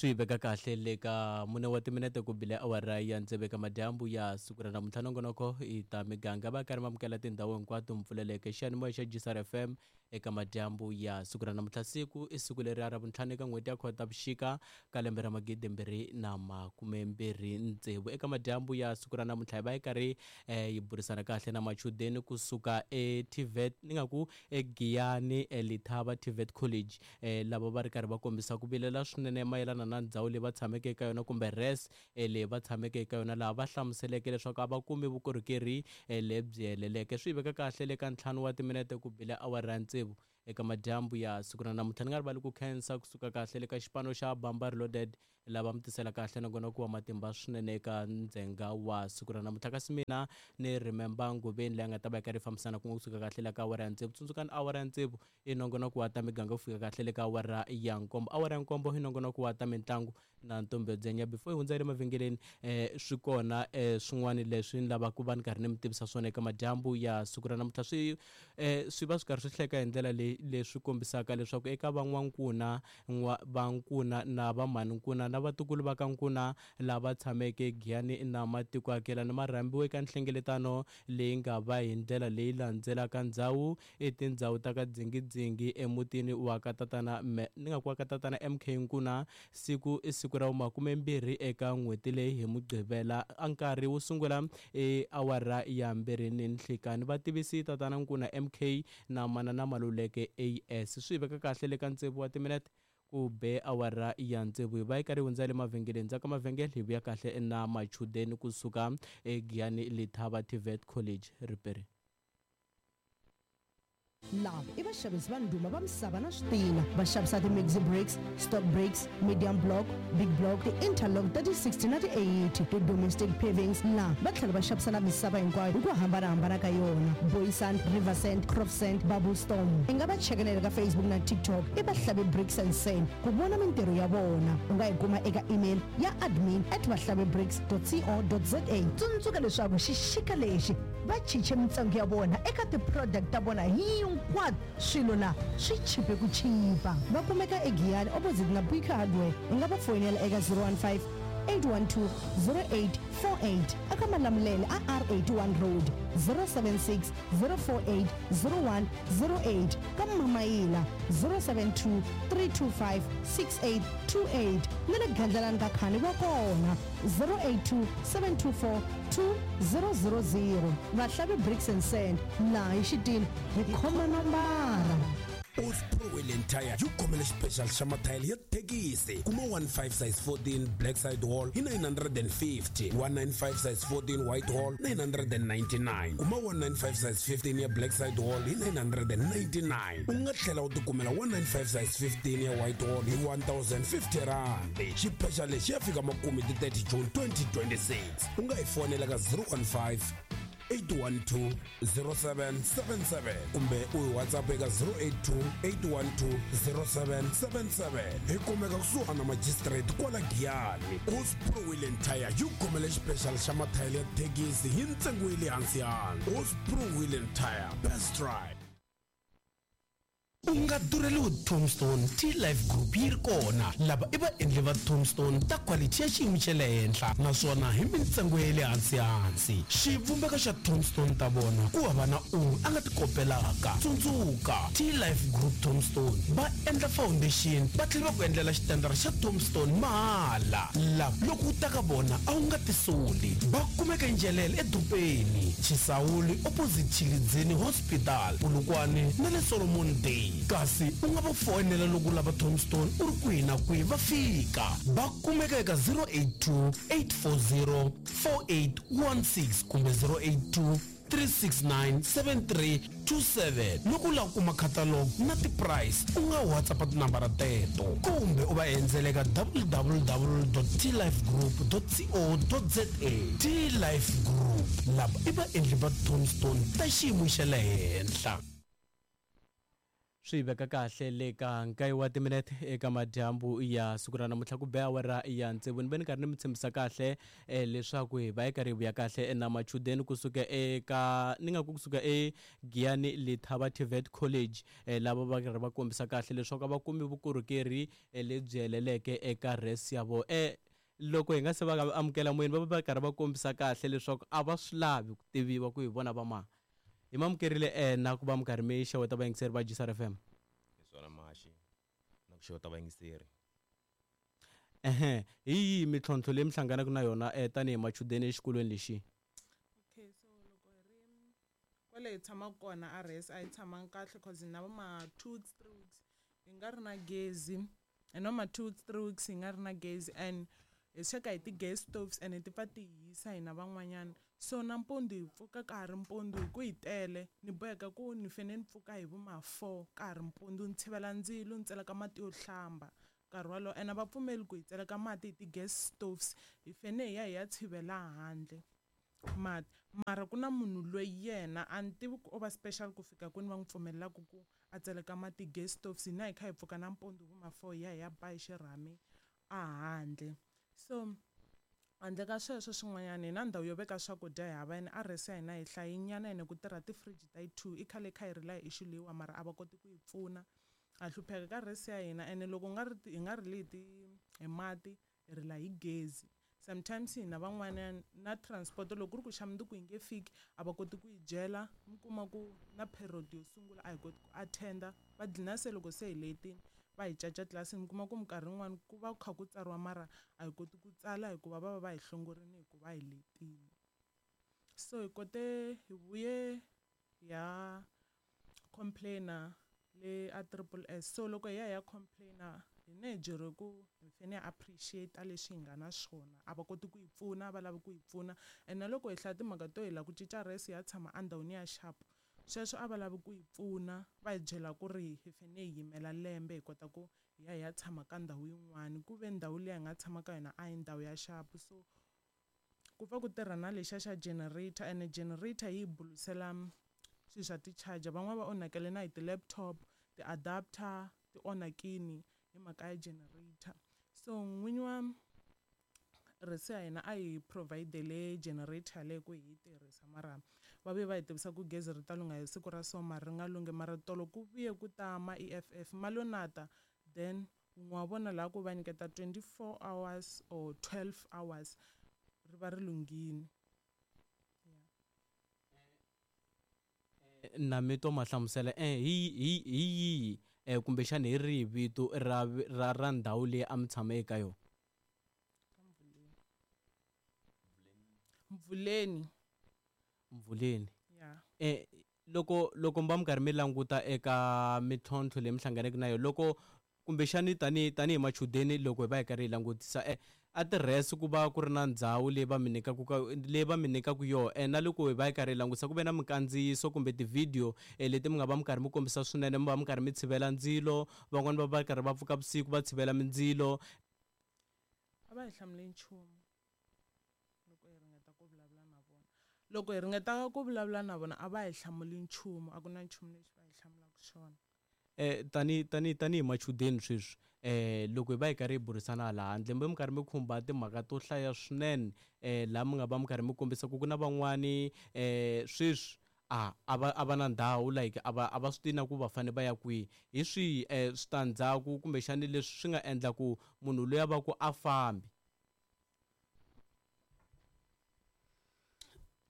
Swi veka kahle le ka mune wa timinete ku bile awara ya tsevu eka madyambu ya siku ra namuntlha. Nongonoko i ta miganga va karhi va amukela tindhawu hinkwato mpfuleleke xiyanimoya xa GCR FM eka madyambu ya siku ra namuntlha. Siku i siku leri ra vuntlhanu eka n'hweti ya Khotavuxika ka lembe ra magidimbirhi na makumembirhi tsevu. Eka madyambu ya siku ra namuntlha hi va hi karhi yi burisana kahle na machudeni kusuka eTVET ni nga ku eGiyani eLithaba TVET College lava va ri karhi va kombisa ku vilela swinene mayelana na ndhawu leyi va tshameke eka yona kumbe res leyi va tshameke eka yona, laha va hlamuseleke leswaku a va kumi vukorhokeri lebyi heleleke. Swi veka kahle le ka ntlhanu wa timinete ku bile awara ya tsevu eka madyambu ya siku ra namuntlha. Ni nga rivali ku khensa kusuka kahle le ka xipano xa Bamba Reloaded lava mi tisela kahle nongonoko wa matimba swinene eka ndzhenga wa siku ra namuntlha. Kasi mina ni Remember Nguveni leyi nga ta va yi karhi yi fambisana kun'we kusuka kahle la ka awara ya tsevu. Tsundzukani awara ya tsevu i nongonoko wa ta miganga ku fika kahle le ka awara ya nkombo. Awara ya nkombo i nongonoko wa ta mitlangu na Ntombi Dzenya. Before hi hundza le mavhengeleni swi kona swin'wana leswi ni lavaka ku va ni karhi ni mi tivisa swona eka madyambu ya siku ra namuntlha. Swi swi va swi karhi swi hleka hi ndlela leyi leswi kombisaka leswaku eka van'wankuna vankuna na vamhaninkuna na vatukulu va ka nkuna lava tshameke Giyani na matiko akelani ma rhambiwe eka nhlengeletano leyi nga va hi ndlela leyi landzelaka. Ndzhawu i tindhawu ta ka Dzingidzingi emutini wa ka tatana ni nga ku wa ka tatana MK Nkuna. Siku i siku ra vumakumembirhi eka n'hweti leyi hi Mugqivela. A nkarhi wo sungula i awara ya mbirhi ni nhlikani. Vativisi tatana Nkuna MK na manana Maluleke AS. Swi hi veka kahle le ka tsevu wa timinete ku be awara ya tsevu. Hi va hi karhi hi hundza le mavhengeleni. Ndzhaku ka mavhengele hi vuya kahle na machudeni kusuka eGiyani Lethaba TVET College. Riperi. Lava i vaxavisi va ndhuma va misava na switina. Va xavisa ti-maxi bricks, stock bricks, medium block, big block, ti-interlock ta ti-60 na ti-80, ti-domestic pavings. La va tlhela va xavisa na misava hinkwayo hi ku hambanahambana ka yona, Boy Sand, River Sand, Crop Sand, Bubble Storm. I nga va cheka na le ka Facebook na TikTok i Vahlavi Bricks and Sand ku vona mintirho ya vona. U nga yi kuma eka email ya admin at vahlavibricks co za. Tsundzuka leswaku xixika lexi va chiche mintsengo ya vona eka ti-product ta vona hinkwato. Swilo la swi chipe ku chipa. Va kumeka eGiyani opposite na Buika Hardware. U nga va foyinela eka 015 812 0848 eka Malamulele a R81 Road, 076 048 0108 ka Mamayila, 072 325 6828 na le Gandlalani ka Khani va kona, 082 724 2000. Vahlavi Bricks and Sand, laha hi xitini hi khoma nambara. Osprey Wheel and Tire yi khomele xipexali xa mathayele ya thekisi. Kuma 15 size 14 black side wall hi 950, 195 size 14 white wall 999. Kuma 195 size 15 ya black side wall hi 999. U nga tlhela u tikumela 195 size 15 ya white wall hi 1050 rand. Xipexali lexi ya fika makumu hi ti 30 June 2026. U nga hi fonela ka 015 812 0777 kumbe u hi WhatsApp eka 082 812 0777. Hi kumeka kusuhana na magistrate kwala Giyani. Osprey Wheel and Tire yi khomele xipexali xa mathayele ya thekisi hi ntsengo ya le hansi hansi. Osprey Wheel and Tire, best ride. U nga durheliwi Tombstone, T-Life Group yi ri kona. Lava i vaendli va Tombstone ta quality ya xiyimo xa le henhla naswona hi mintsengo ya le hansi-hansi. Xivumbeko xa Tombstone ta vona ku hava na un'we a nga ti kopelaka. Tsundzuka, T-Life Group Tombstone va endla foundation va tlhela va ku endlela xitandara xa Tombstone mahala. Lava loko u ta ka vona a wu nga tisoli. Va kumeka eNjelele edorobeni, Chisawuli opposite Tshilidzini Hospital, Polokwane na le Solomon Day. Kasi u nga va foyinela loko u lava Tombstone u ri kwihi na kwihi va fika. Va kumeka eka 082 840 4816 kumbe 082 369 7327. Loko u lava ku kuma catalog na ti-price u nga WhatsApp tinambara teto kumbe u va endzela eka www.tlifegroup.co.za. T-Life Group, lava i vaendli va Tombstone ta xiyimo xa le henhla. Swi veka kahle le ka nkaye wa timinete eka madyambu ya siku ra namuntlha ku be awara ya tsevu. Ni ve ni karhi ni mi tshembisa kahle leswaku hi va hi karhi hi vuya kahle na machudeni kusuka eka ni nga ku kusuka eGiyani Lethaba TVET College, lava va karhi va kombisa kahle leswaku a va kumi vukorhokeri lebyi heleleke eka res ya vona. Loko hi nga se va amukela moyeni, va va karhi va kombisa kahle leswaku a va swi lavi ku tiviwa ku hi vona va mani. Hi mamukerile na ku va mi karhi mi xeweta vayingiseri va GCR FM. Hi swona Mashi, na ku xeweta vayingiseri. Ehe, hi yihi mintlhontlho leyi mi hlanganaka na yona tanihi machudeni exikolweni lexi? Okay, so loko hi ri kwale hi tshamaka kona a res a hi tshamangi kahle, cause na va ma 2 weeks 3 weeks hi nga ri na gezi, hi na ma 2 weeks 3 weeks hi nga ri na gezi, and hi sweka hi ti-gas stoves and ti pfa ti hisa hina van'wanyana. So nampundzu hi pfuka ka ha ri mpundzu hi ku hi tele, ni boheka ku ni fanele ni pfuka hi vo ma 4 ka ha ri mpundzu, ni tshivela ndzilo, ni tseleka mati yo hlamba nkarhi wolowo. Ene a va pfumeli ku hi tseleka mati hi ti-gas stoves, hi fanele hi ya hi ya tshivela handle mati. Mara ku na munhu loyi yena a ni tivi ku o va special ku fika kwini va n'wi pfumelelaka ku a tseleka mati gas stoves, hina hi kha hi pfuka nampundzu vo ma 4 hi ya hi ya ba hi xirhami a handle. So handle ka sweswo swin'wanyana, hi na ndhawu yo veka swakudya hi hava, ene a res ya hina hi hlayinyana, ene ku tirha ti-fridge ta yi 2. I khale kha hi rila hi issue leyiwa, mara a va koti ku yi pfuna. Ha hlupheka ka res ya hina, ene loko nga ri hi nga rili hi mati, hi rila hi gezi. Sometimes hina van'wanyana na transport loko ku ri ku xa mundzuku yi nge fiki, a va koti ku yi byela, mi kuma ku na period yo sungula a hi koti ku attend-a, va dlina se loko se hi letini va hi caca tlilasini. Mi kuma ku minkarhi yin'wani ku va ku kha ku tsariwa, mara a hi koti ku tsala hikuva va va va hi hlongorini hikuva hi letini. So hi kote hi vuye ya complain-a le a Triple S. So loko hi ya hi ya complain-a, hi ne hi byeriwe ku hi fanele hi appreciate leswi hi nga na swona, a va koti ku hi pfuna, va lavi ku hi pfuna. And na loko hi hlaya timhaka to hi lava ku cinca res ya tshama endhawini ya sharp, sweswo a va lavi ku hi pfuna, va hi byela ku ri hi fanele hi yimela lembe hi kota ku hi ya hi ya tshama ka ndhawu yin'wani, ku ve ndhawu liya hi nga tshama ka yona a hi ndhawu ya sharp. So ku pfa ku tirha na lexiya xa generator, ene generator yi hi bulusela swilo swa ti-charger. Van'wani va onhakele na hi ti-laptop, ti-adapter ti onhakini hi mhaka ya generator. So n'winyi wa res ya hina a hi provide-ele generator yaleyo ku hi yi tirhisa, mara va vuye va hi tivisa ku gezi ri ta lungha hi siku ra so, mara ri nga lunghi. Mara tolo ku vuye ku ta ma EFF ma lo na ta, then wun'we wa vona laha ku va nyiketa 24 hours or 12 hours ri va ri lunghini. Na mi twa ma hlamusela hi hi hi yihi kumbexana hi rihi vito ra ra ra ndhawu leyi a mi tshama eka yona? Mvuleni. Mvuleni. Yeah. Loko mi va mi karhi mi languta eka mintlhontlho leyi mi hlanganeke na yona, loko kumbexani tanihi machudeni, loko hi va hi karhi hi langutisa a tirhesi ku va ku ri na ndhawu leyi va mi nyikaka ka leyi va mi nyikaka yona, na loko hi va hi karhi hi langutisa ku ve na minkandziyiso kumbe ti-video leti mi nga va mi karhi mi kombisa swinene, mi va mi karhi mi tshivela ndzilo, van'wani va va karhi va pfuka vusiku va tshivela mindzilo. A va hi hlamuli nchumu loko hi ringeta ku vulavula na vona. Loko hi ringeta ku vulavula na vona a va hi hlamuli nchumu, a ku na nchumu lexi va hi hlamulaka xona. Tani machudeni sweswi, loko hi va hi karhi hi burisana laha handle, mi karhi mi khumba timhaka to hlaya swinene, laha mi nga va mi karhi mi kombisa ku ku na van'wani sweswi a va na ndhawu, like a va swi tivi na ku va fanele va ya kwihi. Hi swihi switandzhaku kumbexani leswi swi nga endla ku munhu loyi a va ku a fambi?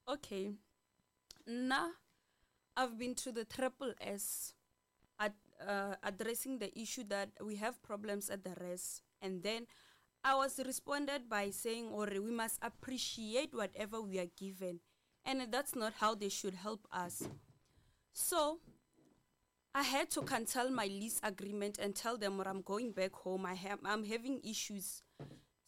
Okay, now I've been to the Triple S at addressing the issue that we have problems at the res, and then I was responded by saying, or we must appreciate whatever we are given, and that's not how they should help us. So I had to cancel my lease agreement and tell them I'm going back home. I'm having issues.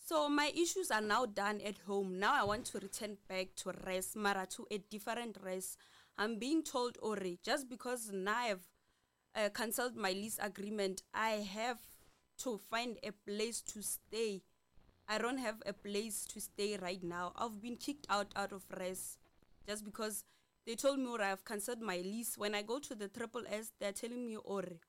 So my issues are now done at home. Now I want to return back to res, mara to a different res. I'm being told, ore, just because now I've cancelled my lease agreement, I have to find a place to stay. I don't have a place to stay right now. I've been kicked out of res just because they told me, ore, I've cancelled my lease. When I go to the Triple S, they're telling me, ore,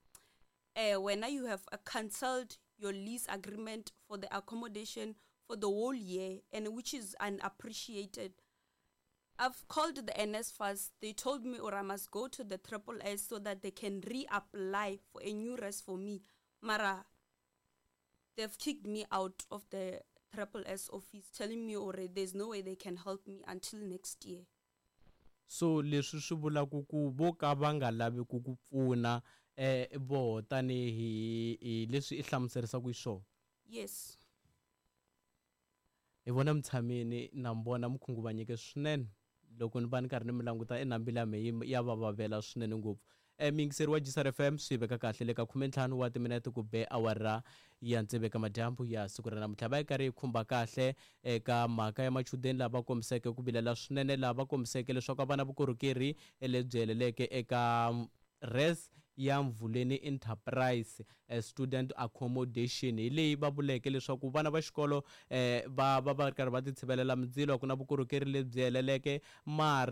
Wena you have cancelled your lease agreement for the accommodation for the whole year, and which is unappreciated. I've called the NSFAS. They told me or I must go to the Triple S so that they can reapply for a new res for me. Mara, they've kicked me out of the Triple S office, telling me or there's no way they can help me until next year. So leswi swi vulaka ku vo ka va nga lavi ku ku pfuna voho tanihi hi leswi i hlamuserisaka xiswona. Yes. Hi vona mutshamini na mi vona mi khunguvanyeke swinene loko ni va ni karhi ni mi languta enambili ya mehe ya va vavela swinene ngopfu. Muyingiseri wa Gisar FM swi veka kahle le ka 15 wa timinete ku be awara ya tsevu eka madyambu ya siku ra namuntlha. Va yi karhi yi khumba kahle eka mhaka ya machudeni lava kombiseke ku vilela swinene, lava kombiseke leswaku a va na vukorhokeri lebyi heleleke eka res ya Mvuleni Enterprise Student Accommodation. Hi leyi va vuleke leswaku vana va xikolo va va va ri karhi va ti tshivelela mindzilo, a ku na vukorhokeri lebyi heleleke mara.